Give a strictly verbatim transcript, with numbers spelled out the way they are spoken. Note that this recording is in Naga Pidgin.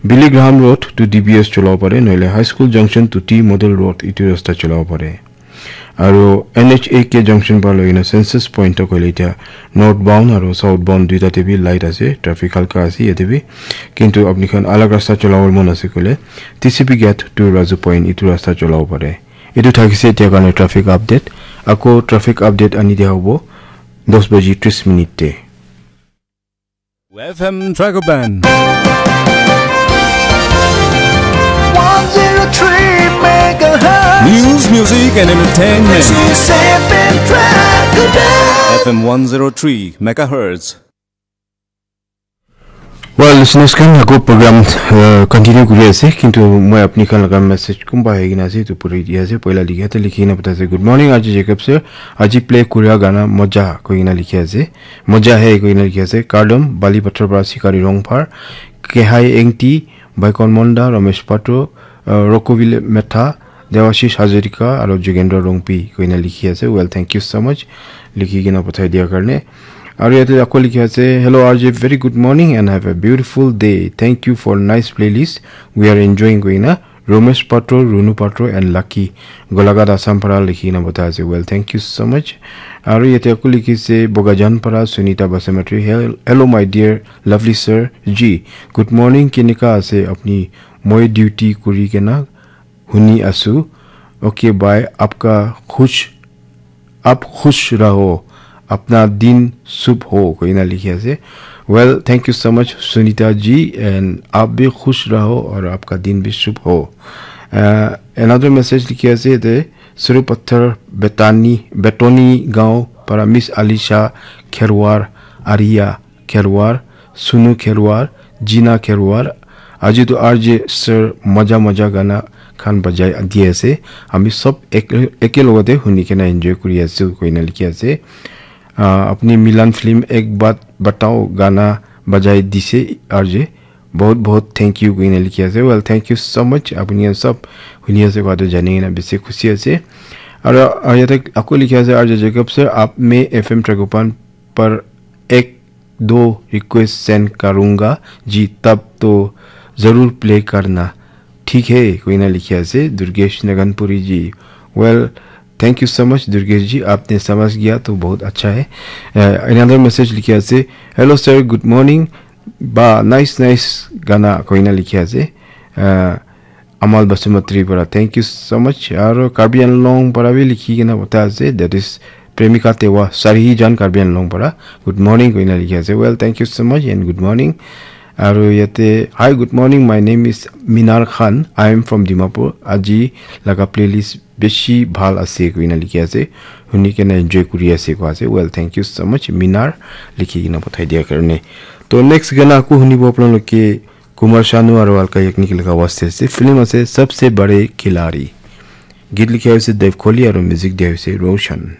Billy Graham Road to D B S cholabo pare, nohole High School Junction to T Model Road itu rasta cholabo pare. Aru N H A K junction para loina Census Point tak hoile etia northbound aru southbound duita te bi light ase, traffic halka ase yate bi. Kintu apni khan alag rasta cholabo mon ase koile T C P gate to Raju Point itu rasta cholabo pare. Itu thakise etia karne traffic update. Ako traffic update ani dia hobo dos baji tris minute te. F M Dragoban. One zero three megahertz. News, music, and entertainment. This is F M Dragoban. F M one zero three megahertz. Well, listeners khan, ako program uh, continue kuri ase, kintu moi apni khan laga message kumba hai kena ase itu puri di ase. Poila likhi ase, likhi kena pata ase, "Good morning, R J Jacob sir. Aji play kuria gana moja," koi kena likhi ase. "Moja hai," koi kena likhi ase. Kardom, Bali Pathar para Sikari Rongphar, Kehai Engti, Baikon Monda, Ramesh Patro, uh, Rokovile Metha, Dewashish Hazarika, aru Jugendra Rongpi, koi kena likhi ase. Well, thank you so much. Likhi kena pathai dia karne. Aru yate ako likhi ase, "Hello R J, very good morning and have a beautiful day. Thank you for nice playlist. We are enjoying," koi kena. Romesh Patro, Runu Patro, and Lucky Golaghat Assam para likhi kena pathai ase. Well, thank you so much. Aru yate ako likhi ase, Bogajan para Sunita Basamatri. "Hel- Hello, my dear lovely sir G. Good morning. Kenika ase apni? Moi duty kuri kena huni asu. Okay, bye. Apka khush, aap khush raho. Apna din shubh ho," koi kena likhi ase. Well, thank you so much, Sunita ji, and aap bhi khush raho aur aapka din bhi shubh ho. Uh, another message likhi ase de, Suru Pathar Betani, Betoni Gaon para Miss Alisha Kherwar, Aria Kherwar, Sunu Kherwar, Jina Kherwar. Aji tu R J sir maja maja gana khan bajai di ase. Ami sob ek, eke logate huni kena enjoy kuri ase, koi kena likhi ase. Uh, apni Milan film Ek Baat Batao gana bajai dise R J. Bahut bahut thank you koi kena likhi ase. Well, thank you so much. Apni khan sob huni ase koa tu jani kena bisi khushi ase. Aru, aru yate ako likhi ase, "R J Jacob sir, aap main F M Dragoban par ek do request send karunga ji, tab to zarur play karna. Theek hai," koi kena likhi ase, Durgesh Naganpuri ji. Well, thank you so much, Durgesh ji. Aapne samajh gaya to bahut acha hai. Uh, another message likhi ase, "Hello sir, good morning. Ba, nice, nice gana," koi kena likhi ase. Uh, Amal Basumatri para, thank you so much. Aru Karbi Anglong para bhi likhi kena pathai ase, that is Premika Tewa, Sarihijan, Karbi Anglong para. "Good morning," koi kena likhi ase. Well, thank you so much and good morning. Aru yate, "Hi, good morning. My name is Minar Khan. I am from Dimapur. Aji laga playlist bishi bhal ase," koi kena likhi ase. Huni kena enjoy kuri ase koi ase. Well, thank you so much, Minar, likhi kena pathai dia karne. To next gana ako hunibo apnaloke Kumar Sanu aru Alka Yagnik laga awaz te ase. Film ase Sabse Bade Khiladi. Geet likha hoise Dev Kohli aru music dia hoise Roshan.